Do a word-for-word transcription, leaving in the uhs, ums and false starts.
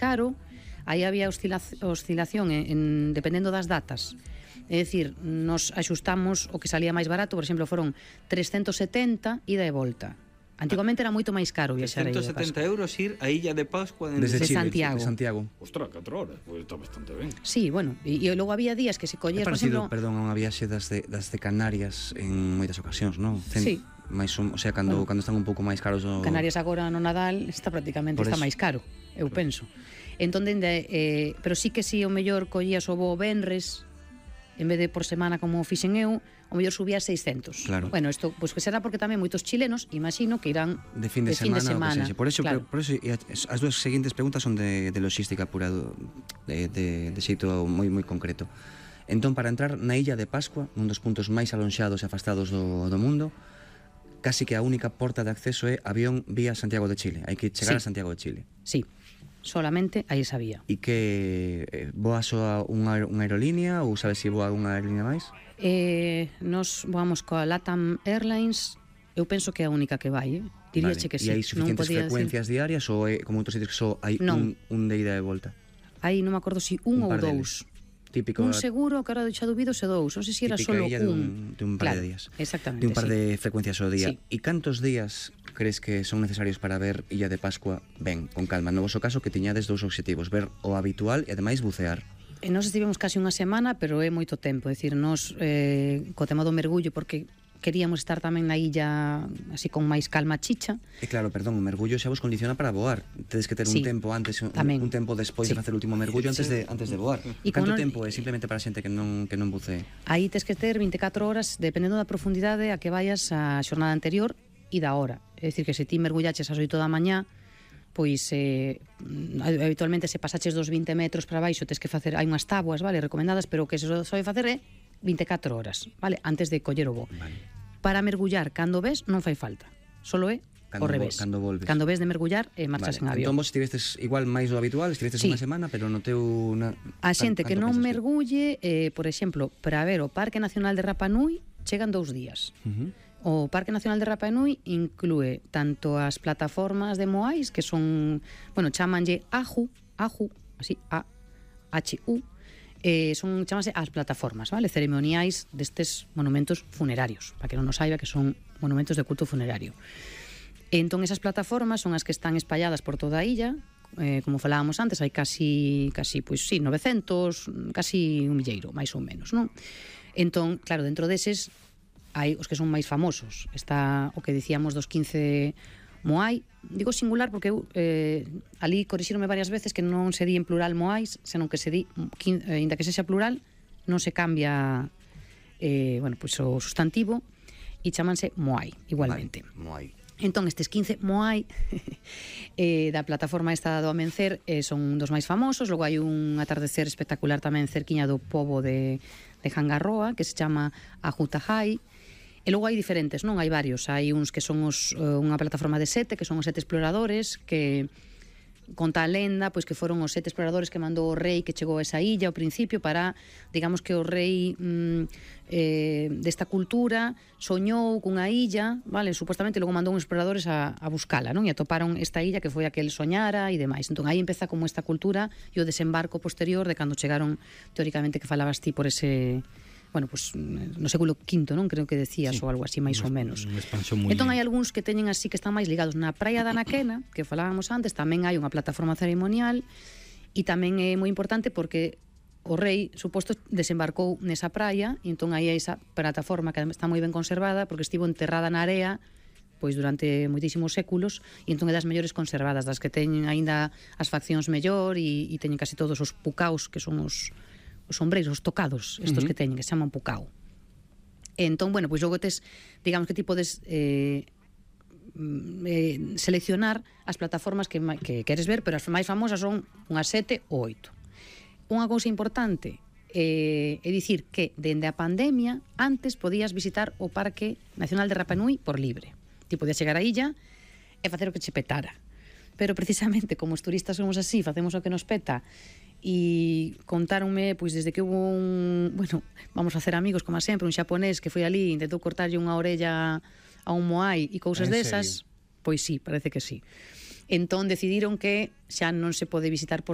caro, aí había oscilación en, en, dependendo das datas. É dicir, nos axustamos o que salía máis barato, por exemplo, foron trescentos e setenta ida e volta. Antigamente era moito máis caro viaxar a Illa de Pascua. trescentos e setenta euros ir a Illa de Pascua desde, desde Chile, Santiago. De Santiago. Ostras, catro horas, pois pues está bastante ben. Sí, bueno, e, e logo había días que se collías, por exemplo, perdón, a unha viaxe das de, das de Canarias en moitas ocasións, non? Cen, sí. Mais un, o sea, cando, bueno, cando están un pouco máis caros o... Canarias agora no Nadal está prácticamente está máis caro, eu penso. Entón, dende, eh, pero sí que si o mellor collías o voo venres en vez de por semana como fixen eu, o mellor subía a seiscentos. Claro. Bueno, isto pois pues, que será porque tamén moitos chilenos, imagino, que irán de fin de, de, semana, fin de semana. Por eso, claro. por eso as dúas seguintes preguntas son de, de logística pura, de, de, de xeito moi moi concreto. Entón, para entrar na Illa de Pascua, un dos puntos máis alonxados e afastados do, do mundo, casi que a única porta de acceso é avión vía Santiago de Chile. Hai que chegar sí. a Santiago de Chile. Sí. Solamente aí sabía. E que eh, voa só unha, unha aerolínea ou sabes se voa unha aerolínea máis? Eh, nos voamos coa LATAM Airlines, eu penso que é a única que vai, eh? Diríache vale. que sí. E hai suficientes frecuencias decir... diarias ou é como outros sitios que só hai un, un de ida e volta? Aí non me acordo si un, un ou dous. Típico, un seguro, que ahora xa dubido se dous, non sei se era solo un. De un, de un par claro, de días. Exactamente, de un par sí. de frecuencias ao día. Sí. E cantos días crees que son necesarios para ver Illa de Pascua ben, con calma? No voso caso que tiñades dous obxectivos, ver o habitual e ademais bucear. E nós estivemos casi unha semana, pero é moito tempo, é dicir, nós eh, co tema do mergullo, porque queríamos estar tamén na illa así con máis calma chicha. E claro, perdón, o mergullo xa vos condiciona para voar. Tedes que ter sí, un tempo antes, un, un tempo despois sí. de facer o último mergullo antes de antes de voar. E canto non... tempo é simplemente para a xente que non que non bucee? Aí tes que ter vinte e catro horas dependendo da profundidade a que vayas a xornada anterior e da hora. É dicir, que se ti mergullaches ás oito da mañá, pois eh, habitualmente se pasaches dos vinte metros para baixo tes que facer, hai unhas tábuas, vale, recomendadas, pero o que se sobe facer é vinte e catro horas, vale, antes de coller o voo. Vale. Para mergullar cando ves non fai falta, solo é cando, o revés. Cando volves. Cando ves de mergullar e marchas vale. en avión. Entón vos estivestes igual máis do habitual, estivestes sí. unha semana, pero no teu na... A xente que non mergulle, eh, por exemplo, para ver o Parque Nacional de Rapa Nui chegan dous días. Uh -huh. O Parque Nacional de Rapa Nui inclúe tanto as plataformas de Moais, que son, bueno, chamanlle Aju, Aju, así, A H U, eh, son, chamase as plataformas, vale, ceremoniais destes monumentos funerarios, para que non nos saiba que son monumentos de culto funerario. Entón, esas plataformas son as que están espalladas por toda a illa, eh, como falábamos antes, hai casi, casi, pois sí, novecentos, casi un milleiro, máis ou menos, non? Entón, claro, dentro deses hai os que son máis famosos. Está o que dicíamos dos quince Moai, digo singular porque eu eh, ali corrixírome varias veces que non se di en plural Moais, senón que se di, eh, inda que sexa plural, non se cambia eh, bueno, pues, o sustantivo e chamanse Moai, igualmente. Moai. Entón, estes quince Moai eh, da plataforma esta do Amencer eh, son dos máis famosos. Logo hai un atardecer espectacular tamén cerquiña do pobo de, de Hangarroa, que se chama Ajutajai. E logo hai diferentes, non? Hai varios. Hai uns que son os, unha plataforma de sete, que son os sete exploradores, que conta a lenda, pois que foron os sete exploradores que mandou o rei que chegou a esa illa ao principio para, digamos que o rei mm, eh, desta cultura soñou cunha illa, vale, supostamente logo mandou uns exploradores a, a buscala, non? E atoparon esta illa que foi a que el soñara e demais. Entón aí empeza como esta cultura e o desembarco posterior de cando chegaron, teóricamente, que falabas ti por ese... bueno, pues no século quinto, non? Creo que decías, sí, ou algo así, máis ou menos. Entón hai algúns que teñen así que están máis ligados na praia da Anaquena, que falábamos antes, tamén hai unha plataforma ceremonial e tamén é moi importante porque o rei, suposto, desembarcou nesa praia e entón aí hai esa plataforma que está moi ben conservada porque estivo enterrada na area pois durante moitísimos séculos e entón é das mellores conservadas, das que teñen aínda as faccións mellor e, e teñen casi todos os pucaos que son os os sombreiros, os tocados, estos uh -huh. que teñen, que se chaman pucao. E entón, bueno, pois logo tes, digamos que ti podes eh, eh, seleccionar as plataformas que, que queres ver, pero as máis famosas son unhas sete ou oito. Unha cousa importante eh, é dicir que, dende a pandemia, antes podías visitar o Parque Nacional de Rapa Nui por libre. Ti podías chegar á illa e facer o que che petara. Pero precisamente, como os turistas somos así, facemos o que nos peta, e contáronme, pois desde que hubo un, bueno, vamos a hacer amigos como sempre, un xaponés que foi ali, intentou cortarlle unha orella a un moai e cousas desas, pois sí, parece que sí. Entón decidiron que xa non se pode visitar por